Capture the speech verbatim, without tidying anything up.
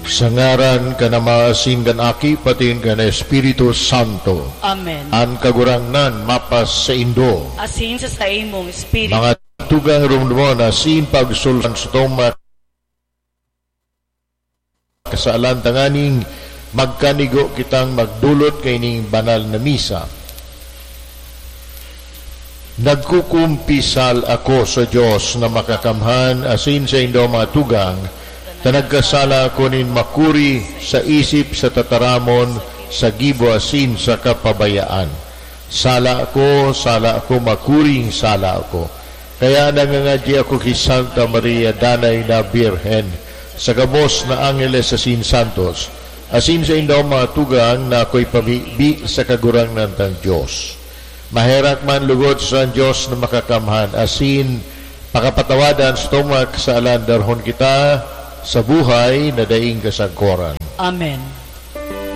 Sa ngaran kan Ama, asin kan Aki, patin kan Espiritu Santo. Amen. An Kagurangnan mapasaindo. Asin sa saimong espiritu. Mga tugang, rumdumon asin pagsulsulan sa toma kasalan tanganing magkanigo kitang magdulot kaining banal na misa. Nagkukumpisal ako sa Dios na Makakamhan asin saindo, mga tugang, ta nagkasala ako nin makuri sa isip, sa tataramon, sa gibo asin sa kapabayaan. Sala ako, sala ako, makuring sala ako. Kaya nangangadyi ako ki Santa Maria, danay na Birhen, sa gabos na angeles asin santos, asin saindo, mga tugang, na ako'y pabibi sa Kagurangnan tang Dios. Maherak man lugod sa Dios na Makakamhan, asin pakapatawadan sa toma kasalan, darhon kita sa buhay na daing kasagkoran. Amen.